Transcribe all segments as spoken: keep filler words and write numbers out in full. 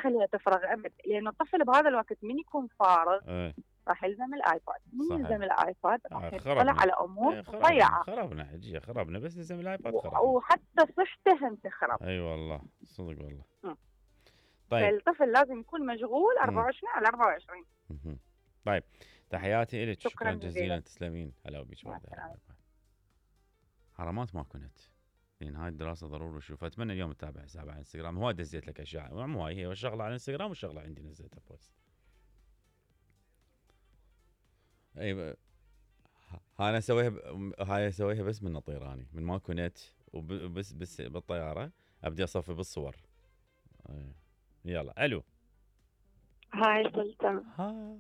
اخليها تفرغ ابد، لان الطفل بهذا الوقت من يكون فارغ ايه راح يلزم الايباد، من صحيح. يلزم الايباد راح آه يطلع خربنا على امور ايه خربنا ضيعه، خربنا حجيه خربنا بس لازم الايباد و- خربنا. وحتى صحته هم تخرب. اي والله صدق والله. مم. طيب فالطفل لازم يكون مشغول أربعة وعشرين على أربعة وعشرين. مهم. طيب تحياتي لك، شكراً شكرا جزيلا، جزيلاً. تسلمين. هلا بيك مع بعد. السلامة. حرامات ماكو نت، لان هاي الدراسه ضروري اشوفها. اتمنى اليوم تتابع حسابي على انستغرام، هو دزيت لك اشياء مو هاي هي الشغله على انستغرام والشغله عندي نزلتها بوست. اي ب... ها انا اسويها ب... هاي اسويها بس من طيراني، من ماكو نت وبس بس بالطياره ابدي اصفي بالصور. أي. يلا الو. هاي سلطان. هاي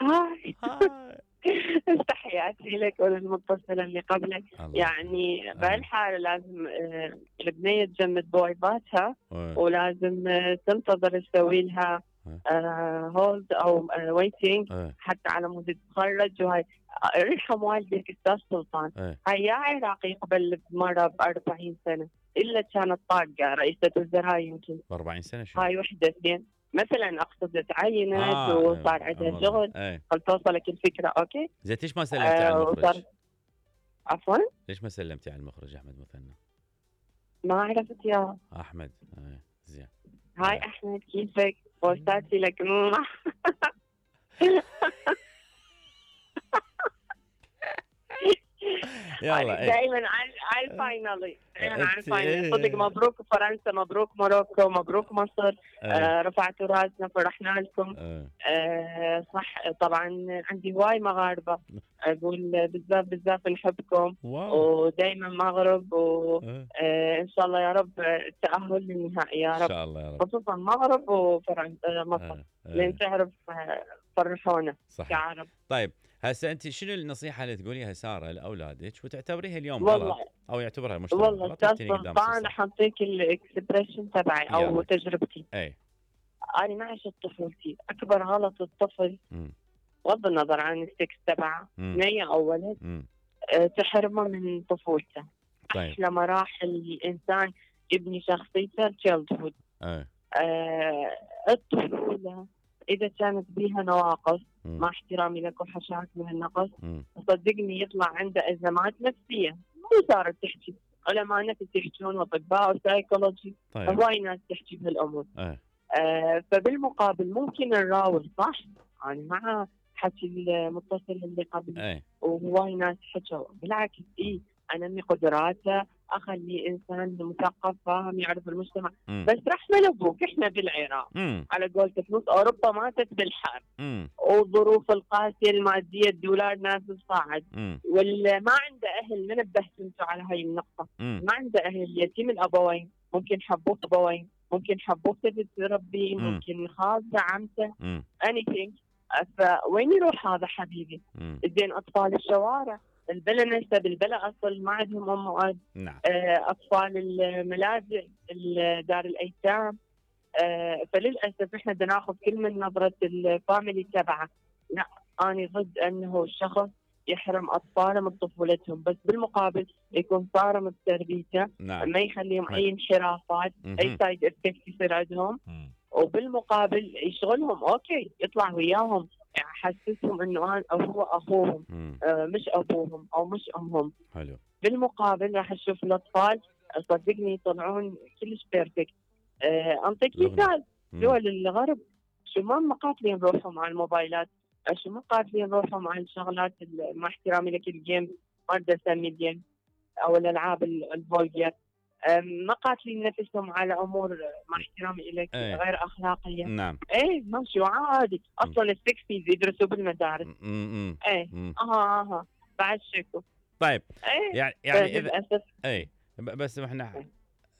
هاي هاي تحياتي لك وللمتصلة اللي قبلك. الله يعني بهالحالة لازم آه، البنية تجمد بويباتها ولازم آه، تنتظر تسوي لها هولد او ويتنج حتى على مود تتخرج. وهاي ارحم والدك استاذ سلطان. هاي يا عراقي قبل مرة ب أربعين سنة الا كانت طاقة رئيسة وزراء يمكن ب أربعين سنة شو؟ هاي وحدة اثنين مثلا اقصد تعينت آه وصار عندها شغل. هل توصلك الفكرة؟ اوكي زين ليش ما سلمتي آه على المخرج؟ عفوا ليش ما سلمتي على المخرج احمد مثنى؟ ما عرفت يا احمد. آه. زين هاي آه. احمد كيفك؟ بوستاتي لك يلا دائما على على الفاينالي دائما على الفاينالي. صدق مبروك فرنسا، مبروك موروكو، مبروك مصر. آه رفعتوا راسنا فرحنا لكم. آه صح طبعا عندي هواي مغاربه اقول بزاف بزاف نحبكم ودائما مغرب وان شاء الله يا رب التاهل للنهائي يا رب ان شاء الله يا رب، خصوصا مغرب وفرنسا مصر لين تعرف فرحونا كعرب. طيب هسه انت شنو النصيحه اللي تقوليها ساره لاولادك وتعتبريها اليوم غلط او يعتبرها المجتمع والله غلط؟ والله سلطان حطيك الاكسبريشن تبعي او تجربتي. اي انا ما عشت طفولتي. اكبر غلط الطفل بغض النظر عن السكس تبعه بنيه او ولد أه تحرمه من طفولته. طيب. احلى مراحل الانسان يبني شخصيته تشيلد هود. أه. الطفوله اذا كانت بيها نواقص مع احترامي لك وحشاك من النقص صدقني يطلع عنده ازمات نفسيه. مو صارت تحكي علماء نفس يحكون واطباء وسايكولوجي. طيب. هواي ناس تحكي بهالامور. أه. آه فبالمقابل ممكن نراوغ صح. انا يعني مع حكي المتصل اللي قبل أه. وهواي ناس حكوا بالعكس اي انمي قدراته اخلي انسان مثقف فاهم يعرف المجتمع. مم. بس رحمه لابوك احنا بالعراق مم. على قولة فلوس اوروبا ماتت بالحرب والظروف القاسيه الماديه الدولار نازل صاعد واللي ما عنده اهل من نبهتوا على هاي النقطه. مم. ما عنده اهل يتيم الابوين ممكن حبوه ابوين ممكن حبوه تبي تربيه ممكن خالته عمته anything. فوين يروح هذا حبيبي؟ زين اطفال الشوارع البلا نسب البلا اصل ما عندهم ام واب. نعم. اطفال الملاجئ دار الايتام. فللاسف احنا بدنا ناخذ كل من نظره الفاميلي تبعه. لا انا ضد انه الشخص يحرم اطفاله من طفولتهم بس بالمقابل يكون صارم بتربيته. نعم. ما يخليهم اي انحرافات اي سايد افكت يصير عندهم. وبالمقابل يشغلهم اوكي يطلع وياهم يحسسهم انه انا هو اخوهم آه مش ابوهم او مش امهم. حلو. بالمقابل راح تشوف الاطفال صدقني يطلعون كلش بيرفكت. آه انطيك مثال دول الغرب شو ما مقاتلين روحهم على الموبايلات شو ما قاتلين روحهم على الشغلات مع احترامي لك الجيم ما بدي اسمي الجيم او الالعاب الفولجر. ما قاتلين نفسهم على امور مع احترامي لك أيه. غير اخلاقيه. نعم. ايه ماشي عادي اصلا السكسيز يدرسوا بالمدارس. امم ايه اها اها بعد شكو. طيب ايه يعني يعني اذا اي بس احنا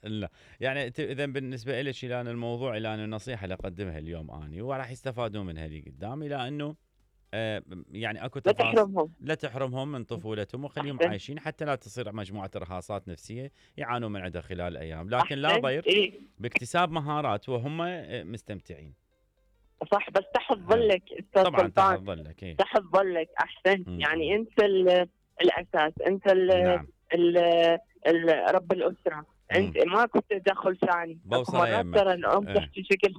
لا يعني اذا بالنسبه لك الى أن الموضوع الى أن النصيحه اللي اقدمها اليوم اني وراح يستفادون منها اللي قدام الى انه آه يعني اكو تفاصيل لا تحرمهم لا تحرمهم من طفولتهم وخليهم عايشين حتى لا تصير مجموعه ارهاصات نفسيه يعانون من عندها خلال الايام لكن لا ضير إيه؟ باكتساب مهارات وهم مستمتعين. صح بس تحت ظلك استاذ طبعا تحت ظلك إيه؟ تحت ظلك احسن م- يعني انت الاساس انت ال نعم. ال ال رب الاسره. انت ما كنت تدخل ثاني بوصله ترى الام تحكي بشكل